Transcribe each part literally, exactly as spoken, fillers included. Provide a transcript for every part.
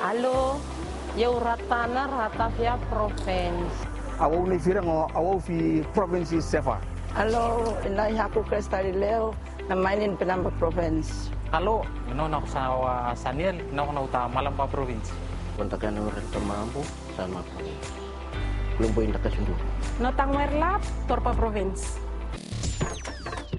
Alo, yau Ratana, Ratavia Provins. Awau nei firang o awau fi provins i Seva. Alo, inai haku Kresta Lileo, na mainin Penama Provins. Alo, no na sa Saniel, no na uta Malamba Provins. Kontakan orang Tamambu, Sanma Provins. Belum poin takas undu. No tang merlap, Torpa Provins.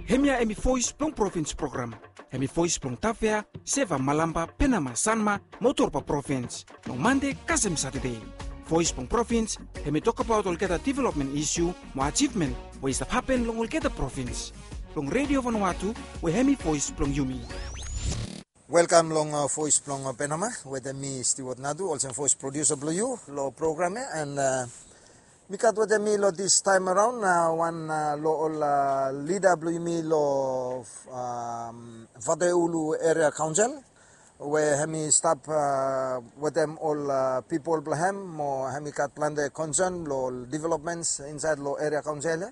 Hemia hemi voice blong provins program. Hemi voice blong Tavea, Seva, Malamba, Penama, Sanma, mo Torpa provins. Long Mande kasem Satade. Voice blong provins, hemi tokbaot olgeta development isu, mo ajivmen, we i stap hapen long olgeta provins. Long Radio Vanuatu, we hemi voice blong yumi. Welkam long, uh, voice blong, uh, Penama, wetem mi Stewart Nadu, olsem voice producer blong yu, long program ya, and, uh, mi gat wetem mi long this time around, uh, wan, uh, long ol, uh, lida blong yumi long, um, Vatuulu Area Council, we hemi stap, uh, wetem ol, uh, pipol blong hem, mo hemi gat plante concern long ol developments insaed long area council ya.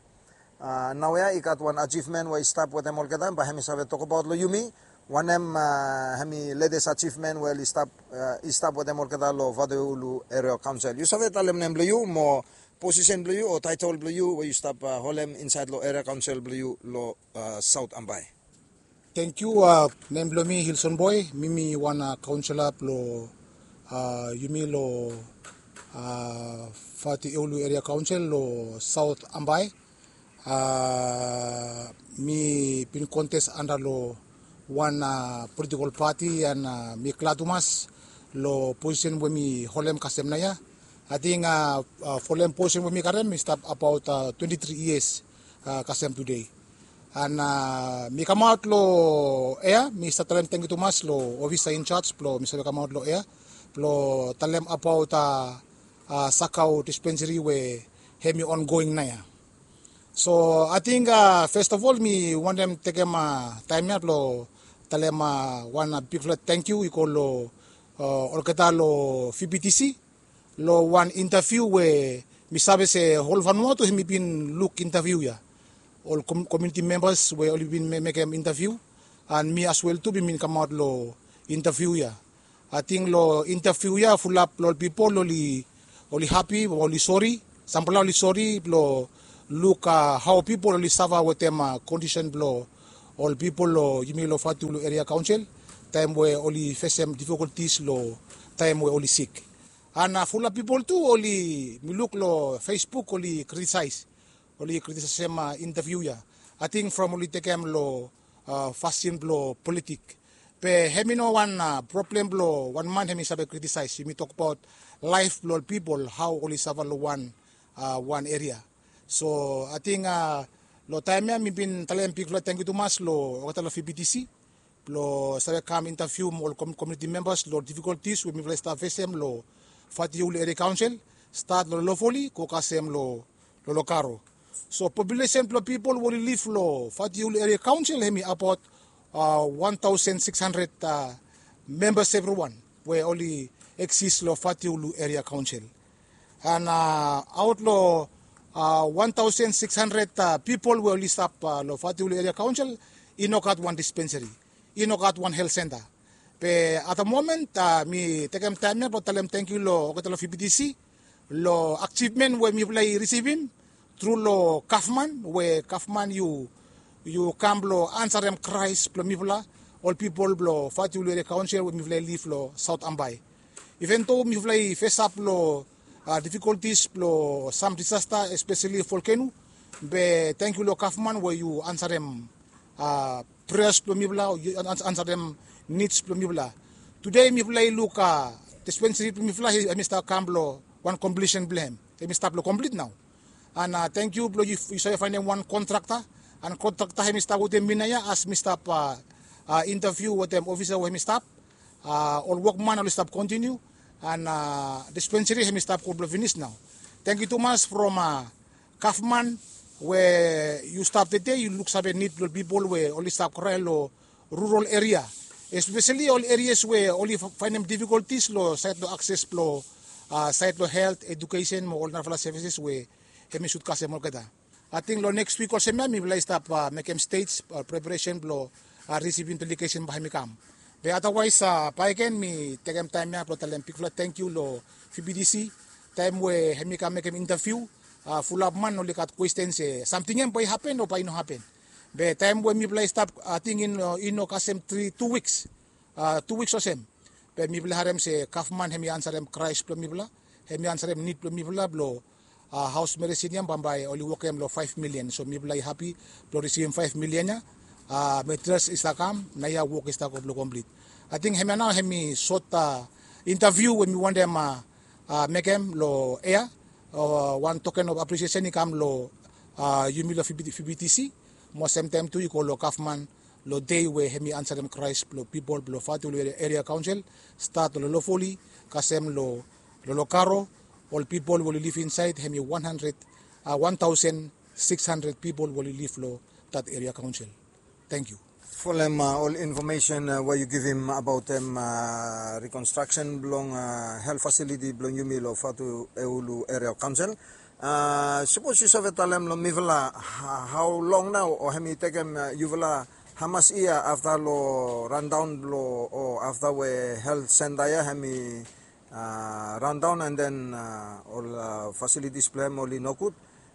Uh, naoia i gat wan ajivmen we i stap wetem olgeta, bae hemi save tokbaot long yumi wanem, uh, hemi latest ajivmen we oli stap, uh, i stap wetem olgeta long Vatuulu Area Council. Yu save talem nem blong yu mo posisen blong yu o taetol blong yu we yu stap, uh, holem insaed long area council blong yu long, uh, Saot Ambae. Tangkiu, uh, nem blong mi Hilson Boy, mi mi wan, uh, kaonsela blong, uh, yumi long, uh, Vatuulu Area Council long Saot Ambae. Uh, mi bin kontes anda long wan, uh, politikol pati, and, uh, mi glad tumas long posisen we mi holem kasem naoia. Ating, uh, uh, folem posisen we mi karem i stap abaot, uh, twenti tri yias, uh, kasem tude. And, uh, mi kamaot long ea, mi stap talem tangkiu tumas long ofisa in charge blong mi save kamaot long ea blong talem abaot, uh, uh, Sakau dispensary we hemi ongoing naoia. So ating, uh, first of all mi wantem tekem, uh, taem ya blong talem, uh, wan, uh, bigfala tangkiu i go long, uh, olgeta long V B T C long wan interview we mi save se hol Vanuatu hemi bin luk interview ya. Ol com-, community members we oli bin me-, mekem interview, and mi as well tu mi bin kamaot long interview ya. Ating long interview ya fulap long ol pipol oli, oli hapi, oli sori, samfala oli sori blong luk, uh, hao pipol oli safa wetem, uh, kondisen blong ol pipol long yumi long Vatuulu Area Council taem we oli fesem difikoltis long taem we oli sik. And, uh, fulap pipol tu oli, mi luk long Facebook oli kritisaes, oli kritisaesem, uh, interview ya. Ating from oli tekem long, uh, fasin blong politik. Be hemi no wan, uh, problem blong wan man hemi save kritisaes. Yumi tokbaot laef blong ol pipol, hao oli safa long wan, uh, wan eria. So ating, uh, long taem ya mi bin talem bigfala tangkiu tumas long olgeta long V B T C blong save kam interview mo ol com-, community members long difikoltis we mifala i stap fesem long Vatuulu Area Council, stat long Lofoli go kasem long, long Lokaro. So populesen blong pipol we oli liv long Vatuulu Area Council hemi abaot, uh, wan taosen sikis handred, uh, membas evriwan we oli eksis long Vatuulu Area Council. And, uh, aot long, uh, wan taosen sikis handred, uh, pipol we oli stap, uh, long Vatuulu Area Council, i no gat wan dispensary, i no gat wan helt senta. Be at the moment, uh, mi tekem taem ya blong talem tangkiu long olgeta long V B T C long ajivmen we mifala i risivim tru long gavman, we gavman yu, yu kam blong ansarem kraes blong mifala, ol pipol blong Vatuulu Area Council we mifala i liv long Saot Ambae. Iven do mifala i fesap long, uh, difikoltis blong sam disasta, espeseli volkeno, be tangkiu long gavman we yu ansarem, uh, preas blong mifala, yu an-, an-, ansarem nids blong mifala. Tude mifala i luk, uh, dispensari blong mifala, he, hemi stap kam long wan komplisen blong hem. Hemi stap long komplit nao. And, uh, tangkiu blong yu, yu save faenem wan kontrakta. And kontrakta hemi stap wetem mi naoia as mi stap, uh, uh, interviu wetem ofisa we hemi stap. Uh, ol wokman oli stap kontiniu. And, uh, dispensari hemi stap go blong finis nao. Tangkiu tumas from, uh, gavman we yu stap tede, yu luksave nid blong ol pipol we oli stap krae long rural eria, espeseli ol erias we oli fa-, faenem difikoltis long saed long akses blong, uh, saed long helt, ejukesen mo ol narafala sevises we hemi sud kasem olgeta. Ating long neks wik olsem ya mifala i stap, uh, mekem stej, uh, preparesen blong, uh, risivim delegesen bae hemi kam. Be otherwise, baeken mi tekem taem ya blong talem bigfala tangkiu long V B T C. Taem we hemi kam mekem interview, fulap man oli gat kwesten se samting ya bae i hapen o bae i no hapen. Be taem we mifala i stap, ating i no kasem tri tu wiks, tu wiks olsem, be mifala i harem se gavman hemi ansarem kraes blong mifala, hemi ansarem nid blong mifala blong haos meresin ya bambae oli wokem long faef milian. So mifala i hapi blong risivim faef milian ya. Materials i stap kam, naoia wok i stap go blong komplit. Ating hemia nao hemi sot interview we mi wantem mekem long ea. Wan token of apresiesen i kam long yumi long V B T C, mo semtaem tu i go long gavman long dei we hemi ansarem kraes blong pipol blong Vatuulu Eria Kaonsel, stat long Lolofoli kasem long Lolokaro. Ol pipol we oli liv insaed hemi wan handred, wan taosen sikis handred pipol we oli liv long dat eria kaonsel. Tangkiu. Folem ol infomesen we yu givim abaotem rikonstraksen blong helt fasiliti blong yumi long Vatuulu Eria Kaonsel. Sapos yu save talem long mifala hao long nao o hemi tekem yufala hamas yia afta long randaon blong o afta we helt senta ya hemi randaon an den ol fasilitis blong hem oli nogud.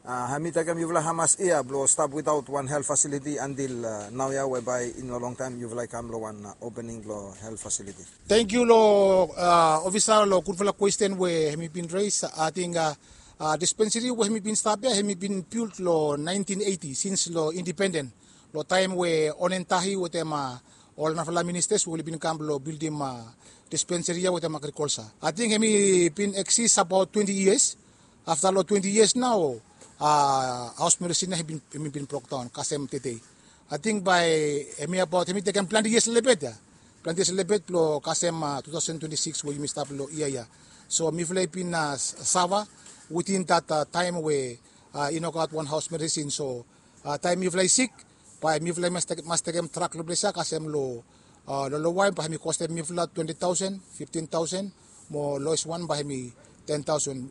Hemi tekem yufala hamas yia blong stap witaot wan helt fasiliti antil naoia we bae i no longtaem yufala i kam long wan opening blong helt fasiliti. Tangkiu long ofisa long gudfala kwesten we hemi bin res. Ating dispenseri we hemi bin stap ya hemi bin bilt long naentin eiti sins long indipenden, long taem we Onen Tahi wetem ol narafala ministas we oli bin kam blong bildim dispenseri ya wetem agrikolsa. Ating hemi bin eksis abaot twenti yias. Afta long twenti yias nao haos meresin ya hemi bin brokdaon kasem tedei. Ating bae hemi abaot hemi tekem plante yias lelebet ya. Plante yias lelebet blong kasem tu taosen twenti sikis we yumi stap long yia ya. So mifala i bin safa witin dat taem we i no gat wan haos meresin. So taem mifala i sik, bae mifala i mas tekem trak long ples ya kasem long Lolowai bae hemi kostem mifala twenti taosen, fiftin taosen, mo loes wan bae hemi ten taosen.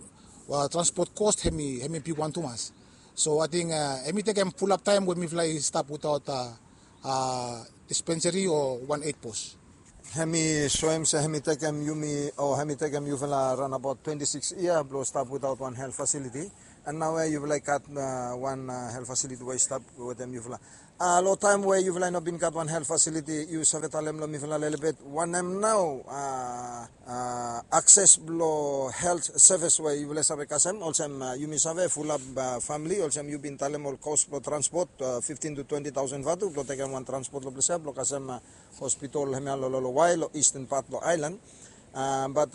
Transpot kos hemi bigwan tumas. So ating hemi tekem fulap taem we mifala i stap witaot dispenseri o wan eit pos. Hemi soem se hemi tekem yumi o hemi tekem yufala raon abaot twenti sikis yia blong stap witaot wan helt fasiliti. An naoia yufala i gat wan helt fasiliti we i stap wetem yufala. Long taem we yufala i no bin gat wan helt fasiliti, yu save talem long mifala lelebet wanem nao akses blong helt sevis we yufala i save kasem? Olsem yumi save fulap famili olsem yu bin talem ol kos blong transpot fiftin tu twenti taosen vatu blong tekem wan transpot long ples ya blong kasem hospital hemia long Lolowai long isten pat blong aelan. Bat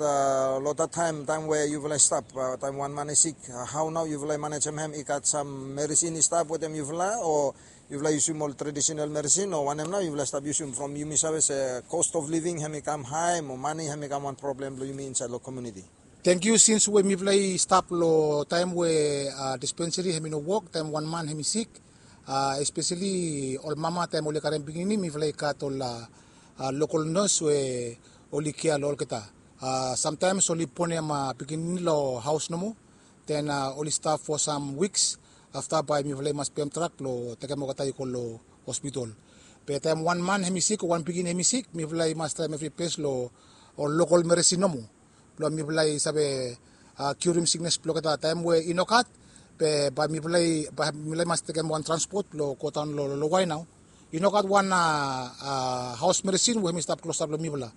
long dat taem taem we yufala i stap, taem wan man i sik, hao nao yufala i manejem hem? I gat sam meresin i stap wetem yufala o yufala i yusum ol tradisenal meresin o wanem nao yufala i stap yusum from yumi save se kost of living hemi kam hae mo mane hemi kam wan problem blong yumi insaed long komuniti? Tangkiu. Sins we mifala i stap long taem we dispenseri hemi no wok taem wan man hemi sik, espeseli ol mama taem oli karem pikinini mifala i gat ol lokol nos we oli kea long olgeta. Samtaems oli bonem pikinini long haos nomo, den oli stap fo sam wiks. Afta bae mifala i mas pem trak blong tekem olgeta i go long hospital. Be taem wan man hemi sik o wan pikinini hemi sik mifala i mas traem evri bes long ol lokol meresin nomo blong mifala i save kiurim siknes blong olgeta. Taem we i no gat, be bae mifala i mas tekem wan transpot blong godaon long Lolowai nao. I no gat wan haos meresin we hemi stap klosap long mifala.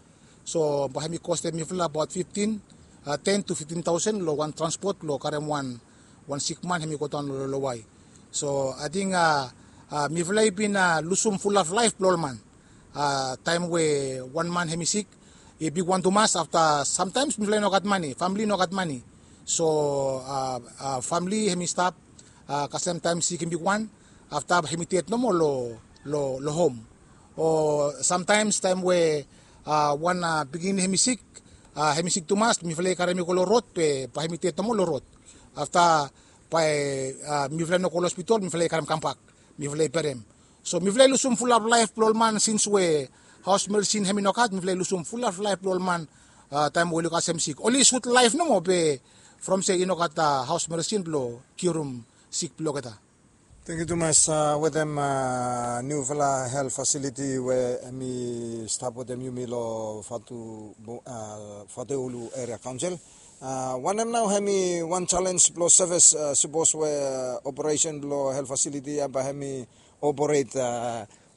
So bae hemi kostem mifala abaot fiftin, ten tu fiftin taosen long wan transpot blong karem wan wan sikman hemi godaon long Lolowai. So ating mifala i bin lusum fulap laef blong ol man. Taem we wan man hemi sik i bigwan tumas. Afta samtaems mifala i no gat mane, famili i no gat mane. So famili hemi stap kasem taem sik i bigwan, afta hemi ded nomo long hom. O samtaems taem we wan pikinini hemi sik, hemi sik tumas, mifala i karem i go long rod be bae hemi ded nomo long rod. Afta bae mifala i no go long hospital, mifala i karem kambak, mifala i berem. So mifala i lusum fulap laef blong ol man sins we haos meresin hemi no gat, mifala i lusum fulap laef blong ol man taem we oli kasem sik. Oli sut laef nomo be from se i no gat haos meresin blong kiurim sik blong olgeta. Tangkiu tumas wetem niufala hel fasiliti we hemi stap wetem yumi long Fatu Fatueulu Eria Kaonsel. Wanem nao hemi wan selens blong sevis, sapos we operesen blong hel fasiliti ya bae hemi operate?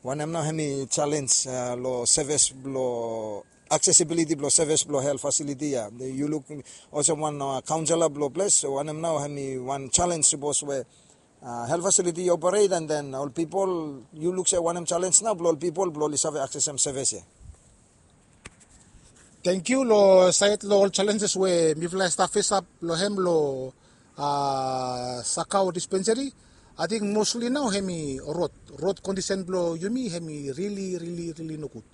Wanem nao hemi selens long sevis blong aksesibiliti blong sevis blong hel fasiliti ya? Yu luk olsem wan kaonsela blong ples, wanem nao hemi wan selens sapos we hel fasiliti i operate, and then ol pipol, yu luk se wanem selens nao blong ol pipol blong oli save aksesem sevis ya? Tangkiu. Long saed long ol selenses we mifala i stap fesap long hem long Sakau dispenseri, ating mosli nao hemi rod. Rod kondisen blong yumi hemi rili rili rili nogud.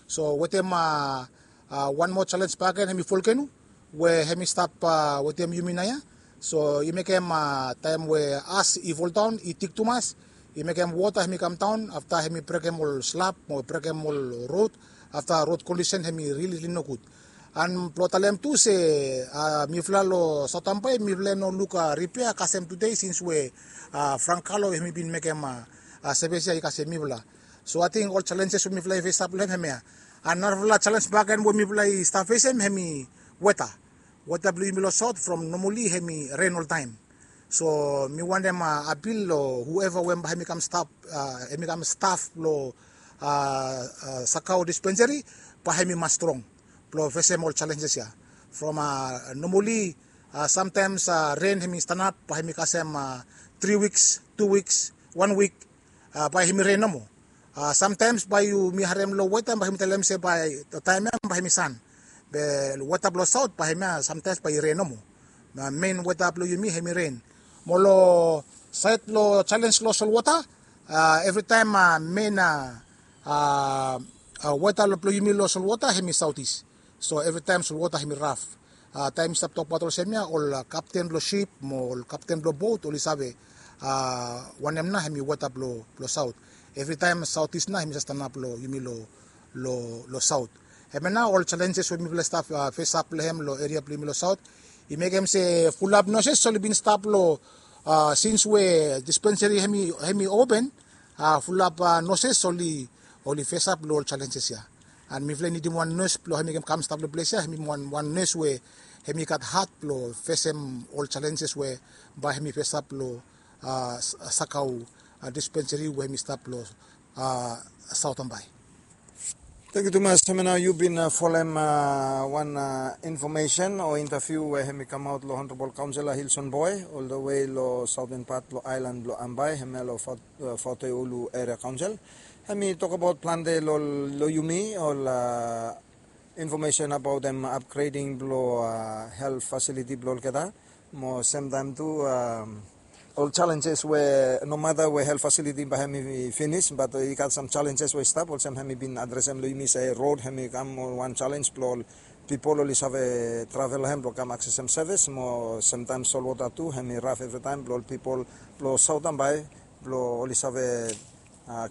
So wetem wan moa selens bakegen hemi volkeno we hemi stap wetem yumi naoia. So i mekem taem we as i foldaon i tik tumas, i mekem wota hemi kamdaon, afta hemi brekem ol slap mo brekem ol rod. Afta rod kondisen hemi rili rili nogud. And blong talem tu se mifala long Saotambae mifala i no luk ripea kasem tude sins we Frank Kalo hemi bin mekem sevis ya i kasem mifala. So ating ol selenses we mifala i fesap long hem hemia. And narafala selens bakegen we mifala i stap fesem hemi weta. Weta blong yumi long Saot from nomali hemi ren oltaem. So mi wantem apil long hueva we bae hemi kam stap, hemi kam staf blong Sakau dispenseri, bae hemi mas strong blong fesem ol selenses ya. From nomali samtaems ren hemi stanap bae hemi kasem tri wiks, tu wiks, wan wik, bae hemi ren nomo. Samtaems bae yumi harem long weta bae hemi talem se bae taem ya bae hemi san. Be weta blong Saot bae hemia samtaems bae i ren nomo. Men weta blong yumi hemi ren. Mo long saed long selens long solwota, evritaem men weta blong yumi long solwota hemi saotis. So evritaem solwota hemi raf. Taem i stap tokbaot olsem ya, ol kapten blong sip mo ol kapten blong bot oli save wanem nao hemi weta blong Saot. Evritaem saotis nao hemi save stanap long yumi long Saot. Hemia nao ol selenses we mifala i stap fesap long hem long eria blong yumi long Saot. I mekem se fulap noses oli bin stap long, sins we dispenseri hemi open, fulap noses oli fesap long ol selenses ya. And mifala i nidim wan nes blong hemi kam stap long ples ya, hemi wan nes we hemi gat hat blong fesem ol selenses we bae hemi fesap long Sakau dispenseri we hemi stap long Saotambae. Tangkiu tumas. Hemia nao yu bin folem wan infomesen o intaviu we hemi kamaot long Honorabol Kaonsela Hilson Boe, oldewe long saoten pat blong aelan blong Ambae, hemia long Fatueulu Eria Kaonsel. Hemi tokbaot plante long yumi ol infomesen abaot hem apgreding blong hel fasiliti blong olgeta. Mo semtaem tu ol selenses we nomata we hel fasiliti bae hemi finis, bat i gat sam selenses we i stap, olsem hemi bin adresem long yumi se rod hemi kam wan selens blong ol pipol oli save travel long hem blong kam aksesem sevis, mo semtaem solwota tu hemi raf evritaem blong ol pipol blong Saotambae blong oli save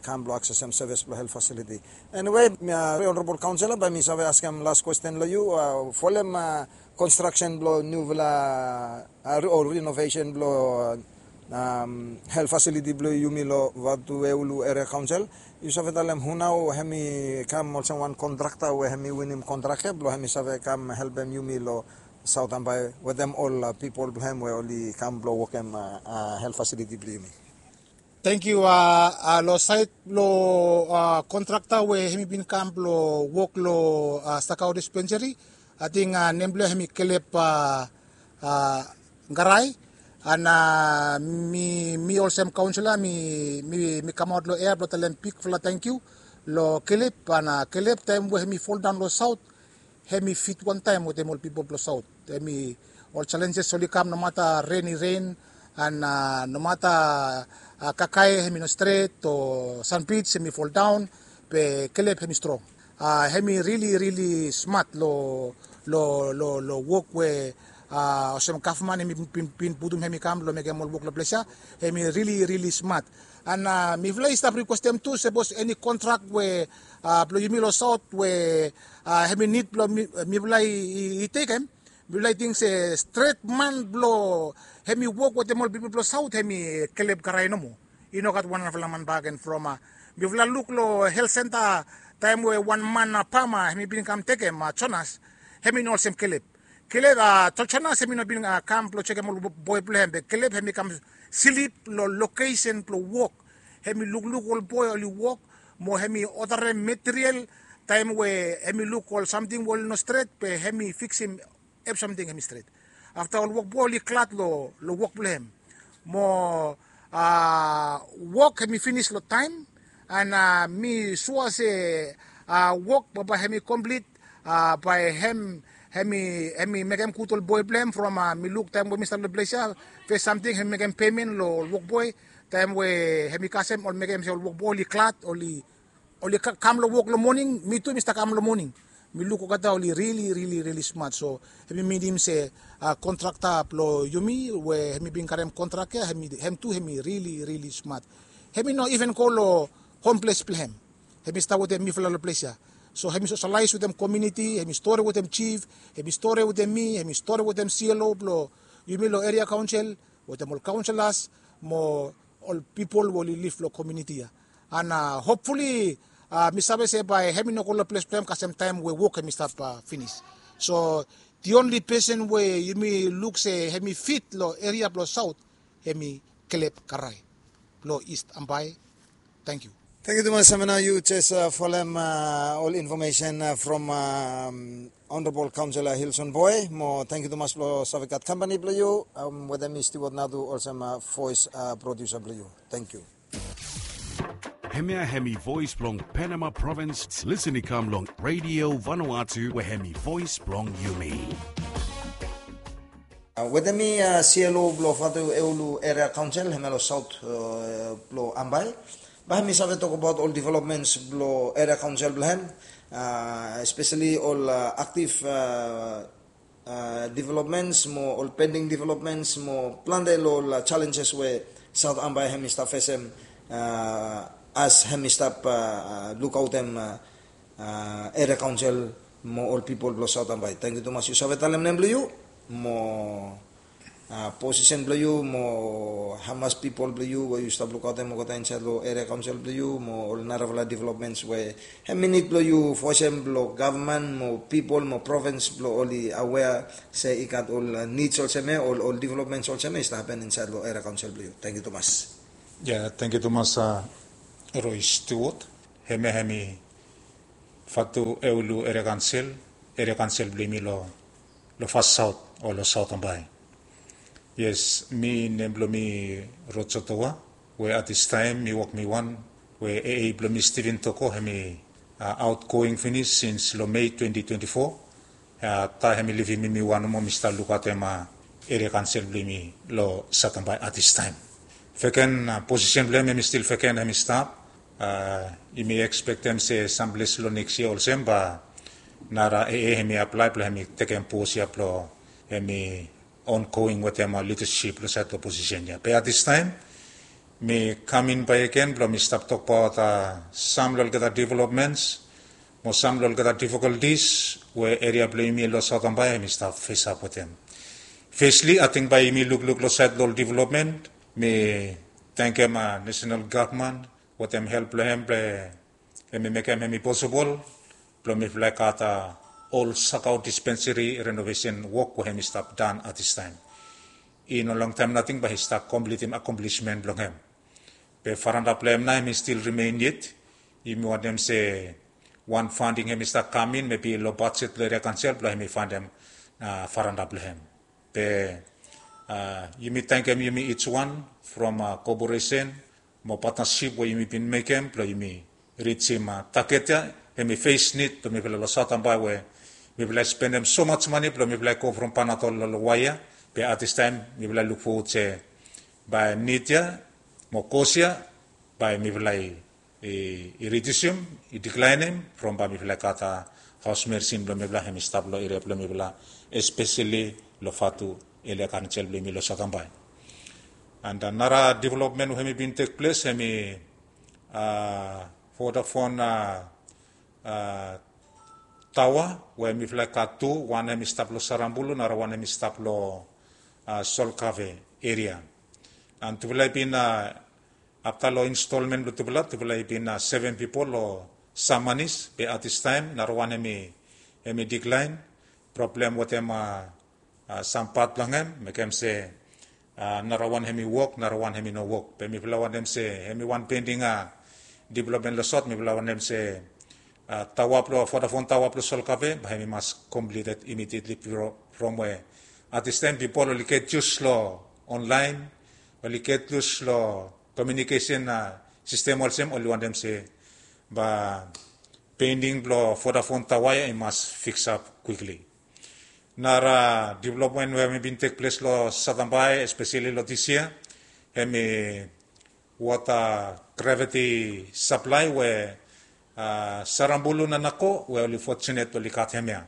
kam blong aksesem sevis blong hel fasiliti. Eniwe, Honorabol Kaonsela, bae mi save askem las kwesten long yu, folem konstraksen blong niufala o rinovesen blong hel fasiliti blong yumi long Fatueulu Eria Kaonsel, yu save talem hu nao hemi kam olsem wan kontrakta we hemi winim kontrak ya blong hemi save kam helpem yumi long Saotambae wetem ol pipol blong hem we oli kam blong wokem hel fasiliti blong yumi? Tangkiu. Long saed blong kontrakta we hemi bin kam blong wok long Sakau dispenseri, ating nem blong hem hemi Kelep Garae. And mi olsem kaonsela mi kamaot long ea blong talem bigfala tangkiu long Kelep. And Kelep taem we hemi foldaon long Saot, hemi fit wantaem wetem ol pipol blong Saot. Hemi ol selenses oli kam nomata ren i ren, and nomata kakae hemi no stret o sanbij hemi foldaon, be Kelep hemi strong. Hemi rili rili smat long wok we olsem gavman hemi bin putum hemi kam blong mekem ol wok long ples ya. Hemi rili rili smat. And mifala i stap rikwestem tu sapos eni kontrak we blong yumi long Saot we hemi nid blong mifala i tekem, mifala i ting se stret man blong hemi wok wetem ol pipol blong Saot hemi Kelep Garae nomo. I no gat wan narafala man bakegen from a mifala luk long health center taem we wan man a pama hemi bin kam tekem a Jonas, hemi no olsem Kelep. Kelep a Jonas hemi no bin kam blong jekem ol boi blong hem, be Kelep hemi kam slip long lokesen blong wok. Hemi lukluk ol boi oli wok, mo hemi odarem material taem we hemi luk ol samting we oli no stret, be hemi fiksim evrisamting hemi stret. Afta ol wokboi oli glad long wok blong hem. Mo wok hemi finis long taem, and mi sua se wok bambae hemi komplit. Bae hem hemi mekem gud ol boi blong hem from mi luk taem we mi stap long ples ya. Fes samting hemi mekem pemen long ol wokboi taem we hemi kasem ol mekem se ol wokboi oli glad, oli oli kam long wok long moning, mi tu mi stap kam long moning. Mi luk olgeta oli rili rili rili smat, so hemi minim se kontrakta blong yumi we hemi bin karem kontrak ya, hem tu hemi rili rili smat. Hemi no iven go long homples blong hem. Hemi stap wetem mifala long ples ya. So hemi sosialaes wetem komiuniti, hemi stori wetem jif, hemi stori wetem mi, hemi stori wetem C L O blong yumi long eria kaonsel, wetem ol kaonselas mo ol pipol we oli liv long komiuniti ya. And hopfuli mi save se bae hemi no go long ples blong hem kasem taem we wok hemi stap finis. So the only person we yumi luk se hemi fit long eria blong saot, hemi Kelep Karae blong East Ambae. Tangkiu. Tangkiu tumas, Samina, yu jes folem ol infomesen from Honorable Councillor Hilson Boy. Mo tangkiu tumas blong save gat kampani blong yu. Wetem mi Stewart Nadu olsem voice producer blong yu. Tangkiu. Hemia hemi voice blong Penama Province. Listen i kam long Radio Vanuatu, we hemi voice blong yumi. Wetem mi C L O blong Vatueulu Eria Kaonsel, hemia long saot blong Ambae. Bae hemi save tokbaot ol developments blong eria kaonsel blong hem, espeseli ol aktif developments mo ol pending developments mo plante long ol challenges we Saot Ambae hemi stap fesem as hemi stap lukaotem eria kaonsel mo ol pipol blong Saot Ambae. Tangkiu tumas yu save talem nem blong yu mo posisen blong yu mo hamas pipol blong yu we yu stap lukaotem olgeta insaed long eria kaonsel blong yu mo ol narafala developments we hemi nid blong yu fosem blong gavman mo pipol mo provins blong oli awea se i gat ol nids olsem ia, ol developments olsem ia i stap hapen insaed long eria kaonsel blong yu. Tangkiu tumas. Ia, tangkiu tumas Roy Stewart. Hemia hemi Vatueulu Eria Kaonsel, eria kaonsel blong yumi long fas saot o long Saot Ambae. Yes, mi nem blong mi Rojo Toa, we at this time mi wok mi wan, we A A blong mi Steven Toko hemi outgoing finis sins long Mei twenty twenty-four. Taem hemi livim mi, mi wan nomo mi stap lukaotem eria kaonsel blong yumi long Saot Ambae at this time. Vacant position blong hem hemi stil vacant hemi stap. Yumi ekspektem se samples long neks yia olsem bae nara A A hemi aplae blong hemi tekem pos ia blong hemi ongoing wetem lidasip long saed long posisen ia. Be at this time mi kam in bakegen blong mi stap tokbaot sam long olgeta developments mo sam long olgeta difikoltis we eria blong yumi long Saot Ambae hemi stap fesap wetem. Fesli, ating bae yumi lukluk long saed long ol development, mi tangkem nasenal gavman wetem help blong hem blong hemi mekem hemi posibol blong mifala i gat ol sakao dispenseri renovesen wok we hemi stap dan at this time. I no longtaem nating bae i stap komplitim akomplismen blong hem. Be faranda blong hem nao hemi stil rimen yet. Yumi wantem se wan fanding hemi stap kam in, mebi long bajet blong eria kaonsel blong hemi faenem faranda blong hem. Be yumi tangkem yumi ij wan from koporesen mo patnasip we yumi bin mekem blong yumi rijim taget ia. Hemi fes nid blong mifala long Saot Ambae we mifala i spendem somaj mane blong mifala i go from Panadol long Lowai ia. Be at this time mifala i luk fowod se bae nid ia mo kos ia bae mifala i ridiusim, i diklaenem from bae mifala i gat haos merisin blong mifala hemi stap long eria blong mifala, espeseli long Vatueulu Eria Kaonsel blong yumi long Saot Ambae. And nara developmen we hemi bin tekples hemi Vodafone taoa we mifala i gat tu, wan hemi stap long Sarabulu, nara wan hemi stap long Solkave eria. And tufala i bin Afta long instolmen blong tufala, tufala i bin seven pipol long samanis, be at this taem narawan hemi, hemi diklaen. Problem wetem sam pat blong hem mekem se narawan hemi wok, narawan hemi no wok. Be mifala wantem se hemi wan pending developmen long sot, mifala wantem se tawa blong Vodafone, tawa blong Solkape, bae hemi mas completed immediately from we at this taem pipol oli get used long online, oli get used long communication system olsem, oli wantem se bae pending blong Vodafone tawa ya i mas fix up quickly. Nara developmen we hemi bin tek ples long Satambai, especially long this year, hemi water gravity supply we Sarambulu na Nako we oli fortunate oli gat hemia.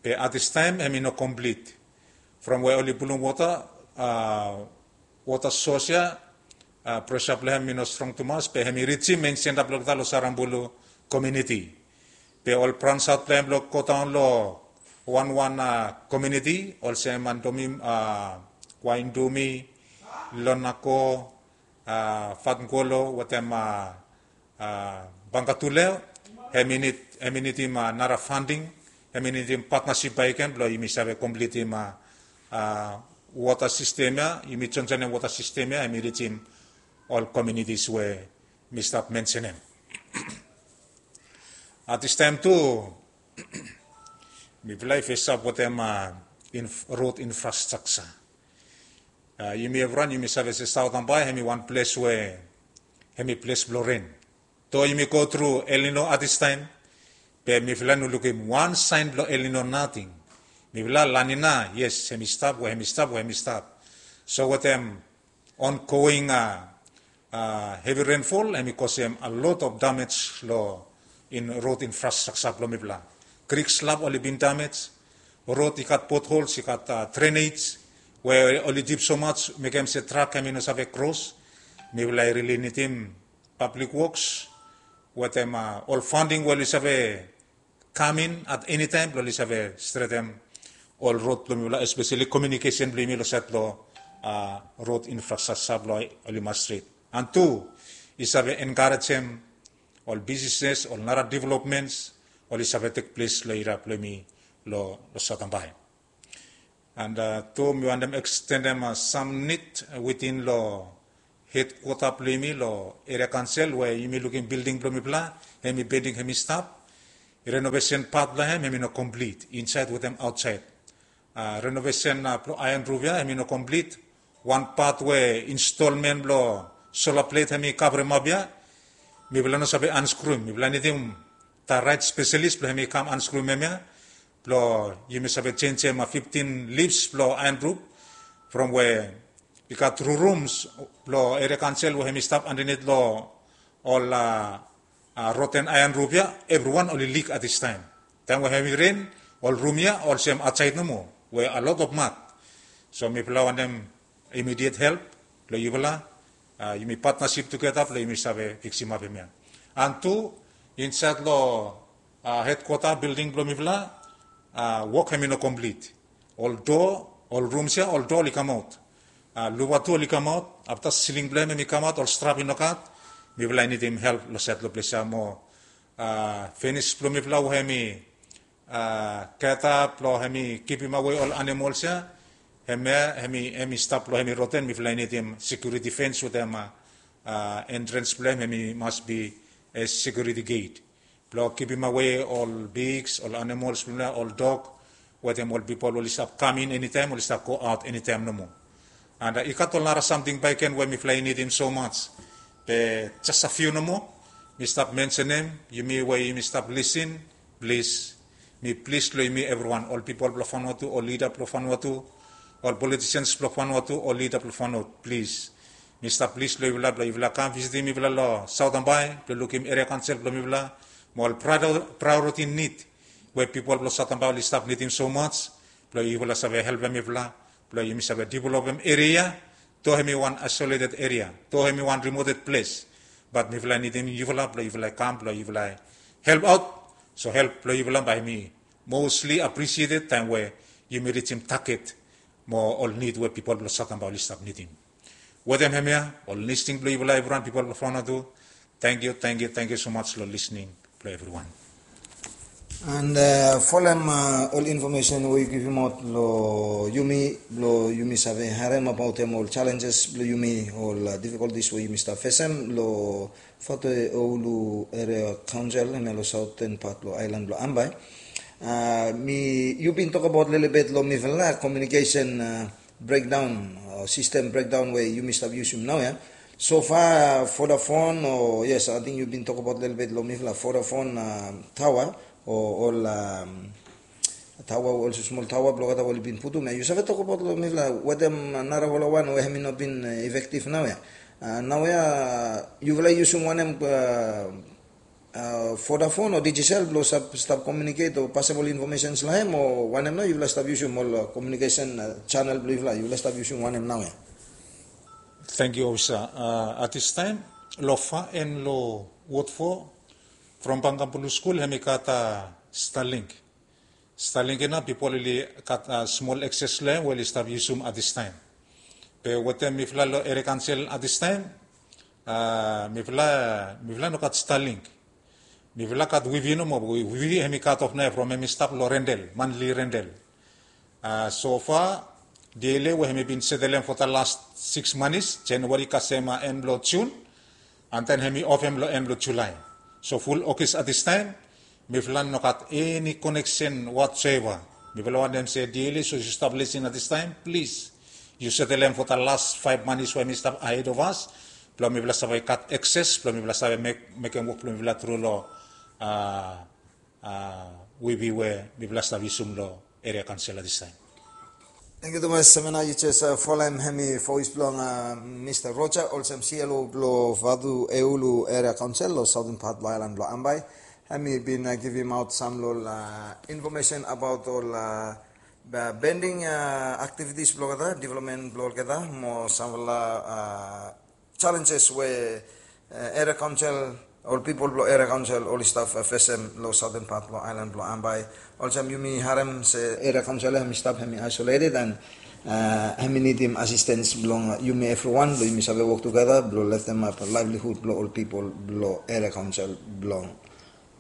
Be at this taem hemi no completed. From we oli pulum water, water source ya, pressure blong hem i no strong tumas, be hemi rijim mein senta blong olgeta long Sarambulu community. Be ol branch out blong hem blong go daon long wanwan community olsem Andomi, Waindomi, Lonako, Fatngolo wetem Bangatuleo, hemi nid, hemi nidim nara funding, hemi nidim partnership bakegen blong yumi save completem water system ya, yumi joinjoinem water system ya, hemi rijim ol communities we mi stap mensenem. At this taem tu mifala i fesap wetem road infrastructure. Yumi evriwan yumi save se Satambai hemi wan ples we hemi ples blong ren. Do yumi go tru El Nino at this taem, be mifala no lukim wan saen blong El Nino nating. Mifala La Nina, yes, hemi stap we hemi stap we hemi stap. So wetem ongoing heavy rainfall hemi kosem a lot of damage long in road infrastructure blong mifala. Creek slab oli bin damage, road i gat potholes, i gat drainage we oli dip so much mekem se trak hemi no save kros. Mifala i rili nidim public works wetem ol funding we oli save kam in at eni taem blong oli save stretem ol rod blong mifala, especially communication blong yumi long saed blong rod infrastructure blong oli mas stret. And tu i save enkarejem ol businesses, ol nara developments oli save tek ples long eria blong yumi long Satambai. And tu mi wantem ekstendem sam nid within long hedkwota blong yumi long eria kaonsel we yumi lukim bilding blong mifala hemi pending hemi stap. Renovesen pat blong hem hemi no komplit insaed wetem aotsaed. Renovesen blong aean ruf ya hemi no komplit. Wan pat we instolmen blong sola plet hemi kavremap ya, mifala no save anskruem. Mifala nidim da raet spesalis blong hemi kam anskruem hemia blong yumi save jenjem fiftin lips blong aean ruf. From we i gat tu rums blong eria kaonsel we hemi stap andanit long ol roten aean ruf ya, evriwan oli lik at this taem. Taem we hemi ren, ol rum ya olsem aotsaed nomo we a lot of mak. So mifala wantem immediate help blong yufala, yumi partnership together blong yumi save fiksimap hemia. And tu insaed long hedkwota bilding blong mifala, wok hemi no komplit. Ol doa, ol rums ya, ol doa oli kamaot. Luva tu oli kamaot, afta siling blong hem hemi kamaot, ol strap i no gat. Mifala i nidim help long saed long ples ya mo finis blong mifala we hemi geta blong hemi givimawe ol animols ya, hemia hemi stap blong hemi roten, mifala i nidim sekiuriti fens wetem entrans blong hem hemi mas bi sekiuriti get blong givimawe ol pigs, ol animols blong mifala, ol dog wetem ol pipol oli stap kam in enitaem, oli stap go aot enitaem nomo. And i gat ol nara samting bakegen we mifala i nidim so mats. Be jes a fiu nomo mi stap mensenem. Yumi we yumi stap lisin, plis, mi plis long yumi evriwan, ol pipol blong Vanuatu, ol lida blong Vanuatu, ol politisians blong Vanuatu, ol lida blong Vanuatu, plis, mi stap plis long yufala blong yufala kam visitim mifala long Saotambai blong lukim eria kaonsel blong mifala mo ol praeoriti nid we pipol blong Saotambai oli stap nidim so mats, blong yufala save helpem mifala blong yumi save developem eria ya. Do hemi wan aesoleted eria, do hemi wan rimoted ples, bat mifala nidim yufala blong yufala kam blong yufala help aot. So help blong yufala bae hemi mostli apresieted taem we yumi rijim taget mo ol nid we pipol blong Saotambai oli stap nidim. Wetem hemia ol listening blong yufala evriwan, pipol blong Vanuatu, tangkiu, tangkiu, tangkiu so much long listening blong evriwan. And uh, folem uh, ol information we yu givimaot long yumi blong yumi save harem abaotem ol challenges blong yumi, ol uh, difficulties we yumi stap fesem long Vanuatu Oulu Area Council, hemia long southern part long island blong Ambae. Uh, mi yu bin tokabaot lelebet long mifala communication uh, breakdown, uh, system breakdown we yumi stap yusum naoia. So far Vodafone o, yes, ating yu bin tokabaot lelebet long mifala Vodafone uh, tower o ol um, tower we olsem smol tower blong olgeta we oli bin putum ia. Yu save tokabaot long mifala wetem narafala wan we hemi no bin uh, effective naoia. Uh, naoia yufala yusum wanem uh, uh, Vodafone o Digicel blong stap, stap communicate o pasem ol informations long hem, o wanem nao yufala stap yusum ol uh, communication uh, channel blong yufala, yufala stap yusum wanem naoia? Tangkiu ofisa. Uh, at this time long Far en long Ward Four, from Pangkang Blue School hemi gat uh, Starlink. Starlink ia nao pipol oli gat uh, smol access long hem we oli stap yusum at this time. Be wetem mifala long Area Council at this time, uh, mifala, mifala no gat Starlink. Mifala gat wifi nomo, wifi hemi cut off naoia from hemi stap long rental, monthly rental. Uh, so far, D L A we hemi bin setelem for the last six months, January kasem uh, en blong June, and then hemi off hem long en blong July. So ful August at this time, mifala no gat eni connection whatsoever. Mifala wantem se D L A, so yu stap lisin at this time, plis yu setelem for the last five months we hemi stap ahead of us, blong mifala save gat access blong mifala save mek, mekem wok blong mifala tru long uh, uh, wifi we mifala stap yusum long Area Council at this time. Tangkiu tumas, semena yu jes uh, folem hemi voice blong uh, Mr Roger, olsem C L O blong Vanuatu Oulu Area Council long southern part blong island blong Ambae. Hemi bin uh, givimaot sam long ol uh, information abaot ol uh, pending uh, activities blong olgeta, development blong olgeta, mo samfala uh, challenges we uh, Area Council, ol pipol blong Area Council oli stap uh, fesem long southern part blong island blong Ambae. Olsem yumi harem se Area Council hemi stap, hemi isolated, and uh, hemi nidim assistance blong uh, yumi evriwan blong yumi save wok tugeta blong leftem ap livelihood blong ol pipol blong Area Council blong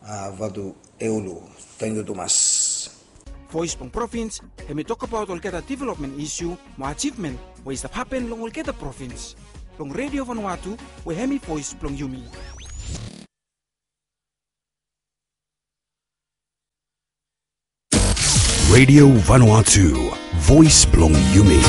uh, Vanuatu Oulu. Tangkiu tumas. Voice blong Provins, hemi tokabaot olgeta development issue mo achievement we i stap hapen long olgeta provins. Long Radio Vanuatu, we hemi voice blong yumi. Radio Vanuatu, voice blong yumi.